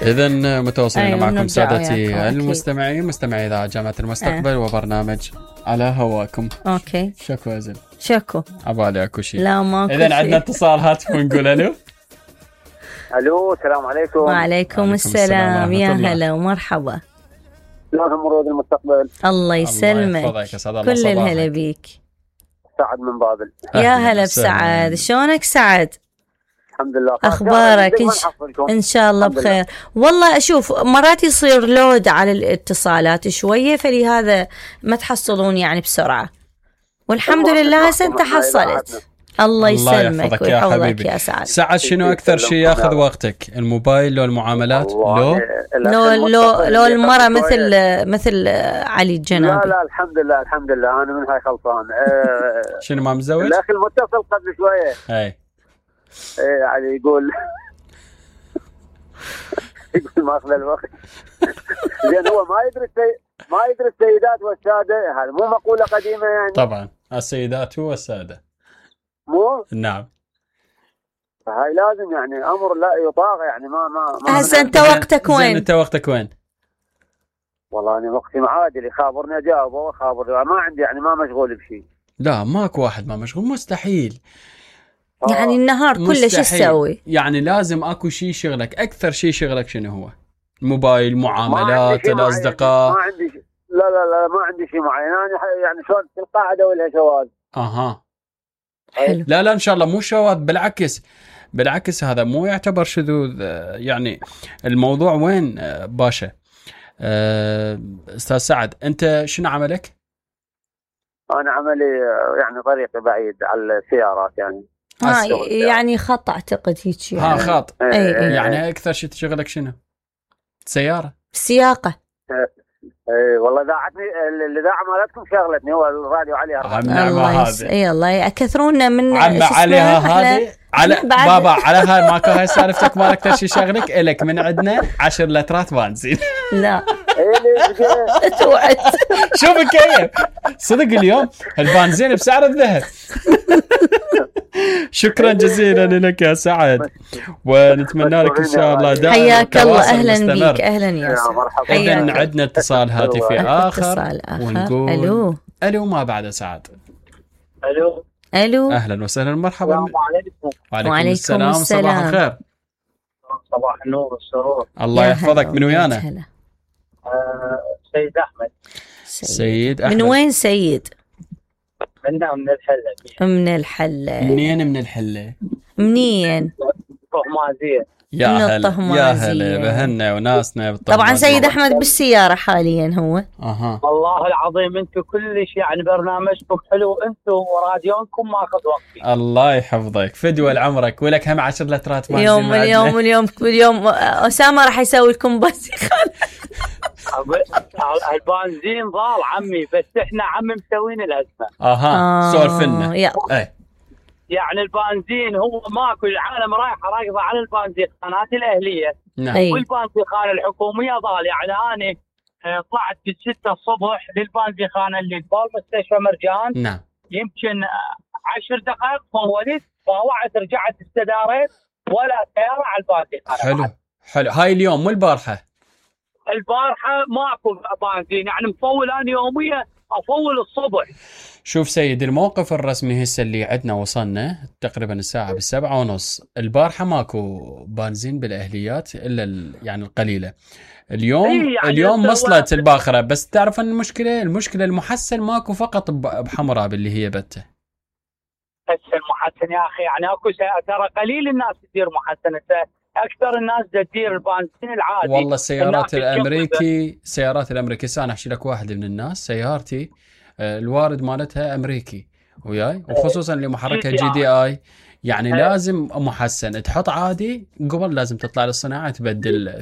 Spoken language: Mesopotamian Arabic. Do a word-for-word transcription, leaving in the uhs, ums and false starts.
إذن متواصلين أيوة معكم نرجع سادتي وياكم أكيد. المستمعين، مستمعي إذاعة جامعة المستقبل وبرنامج على هواكم. أوكي. شكو أزل. شكو. عبالي أكو شيء. لا ماكو إذن شيء. عندنا اتصال هاتف ونقول ألو. الو السلام عليكم. وعليكم السلام، يا هلا ومرحبا. شلون مرود المستقبل؟ الله يسلمك. الله يحفظك، أسعد الله كل صباحك. الهلا بيك. سعد من بابل. يا هلا بسعد، شلونك سعد؟ الحمد لله. اخبارك؟ إن, ش... ان شاء الله بخير. والله اشوف مرات يصير لود على الاتصالات شويه، فلهذا ما تحصلون يعني بسرعه، والحمد لله هسه انت حصلت. الله يسلمك ويحفظك يا سعد. سعد شنو اكثر شيء ياخذ وقتك، الموبايل لو المعاملات لو لو لو, لو المرة مثل مثل علي الجنابي؟ لا لا الحمد لله الحمد لله انا من هاي خلصان. أه شنو ما مزوج؟ الاخ المتصل قبل شويه اي ايه علي يقول يقول ما اخذ الوقت. زين هو ما يدري ما يدري السيدات والساده، هذا مو مقوله قديمه يعني؟ طبعا السيدات والساده مو نعم. هاي لازم يعني امر لا يطاق يعني. ما ما, ما هسه انت وقتك وين؟ انت وقتك وين؟ والله انا وقتي معادل، يخابرني اجاوبه وخابر، ما عندي يعني ما مشغول بشيء. لا ماكو واحد ما مشغول، مستحيل يعني النهار كله شو تسوي؟ يعني لازم اكو شيء شغلك. اكثر شيء شغلك شنو هو؟ الموبايل، معاملات، الاصدقاء؟ ما عندي شيء. لا لا لا ما عندي شيء معين انا يعني شلون القاعده ولا شواذ. اها حلو. لا لا ان شاء الله مو شواذ، بالعكس بالعكس هذا مو يعتبر شذوذ. يعني الموضوع وين باشا؟ استاذ سعد انت شنو عملك؟ انا عملي يعني طريقي بعيد على السيارات يعني. ها يعني خط اعتقد هيك يعني. ها خط. اي اي يعني اكثر شيء تشغلك شنو؟ سياره؟ السياقه. اي والله اذاعتني الاذاعه مالتكم شغلتني، هو الراديو عليها. الله يس... اي الله يكثرونا من عم عليها هذه على بابا على هاي ماكو هاي سالفتك مال اكثر شيء شغلك الك من عندنا عشر لترات بنزين. لا توعد شوف كيف صدق اليوم البنزين بسعر الذهب. شكرا جزيلا لك يا سعد، ونتمنى لك ان شاء الله دائما حياك الله. اهلا بيك. اهلا يا سعد. اذا عندنا اتصال هاتفي اخر اتصال اخر ونقول الو الو ما بعد سعد. الو الو اهلا وسهلا مرحبا. السلام عليكم. وعليكم, وعليكم السلام. السلام. صباح الخير. صباح النور والسرور. الله يحفظك. من ويانا؟ آه سيد احمد. سيد احمد. من وين سيد؟ منا من الحله. من الحله. منين من الحله؟ منين؟ طهمازيه. يا هلا يا هلا بهنا وناسنا. طبعا سيد احمد بالسياره حاليا هو. اها والله العظيم انتم كلش يعني برنامجكم حلو، انتم وراديونكم ماخذ وقتي. الله يحفظك فدوى لعمرك، ولك هم عشر لترات ما اليوم اليوم اليوم اليوم اسامه راح يسوي لكم بنزين. البنزين ضال عمي، بس احنا عمي مسوين الازمه. اها آه سولف لنا. ايه يعني البنزين هو ماكو، العالم رايحه راكضه على البنزين خانات الاهليه. نعم. والبنزين خانه الحكوميه ضال. يعني انا طلعت في الستة الصبح للبنزين خانه اللي قبال مستشفى مرجان. نعم. يمكن عشر دقائق فولت طاوعت رجعت استداريت ولا سياره على البنزين. حلو حلو. هاي اليوم مو البارحه؟ البارحه ماكو بنزين، يعني مفول انا يوميا افول الصبح. شوف سيد، الموقف الرسمي هسه اللي عندنا وصلنا تقريبا الساعة بالسبعة ونص. البارحة ماكو بنزين بالأهليات إلا يعني القليلة. اليوم إيه يعني اليوم وصلت الباخرة، بس تعرف أن المشكلة المشكلة المحسن ماكو فقط بحمراء باللي هي بته. بس المحسن يا أخي يعني أكو ترى قليل الناس تدير محسن، أكثر الناس تدير البنزين العادي. والله السيارات الأمريكي سيارات الأمريكي أنا أحكي لك واحد من الناس سيارتي الوارد مالتها أمريكي وياي، وخصوصا اللي محركها جي دي آي يعني لازم محسن. تحط عادي قبل لازم تطلع للصناعة تبدل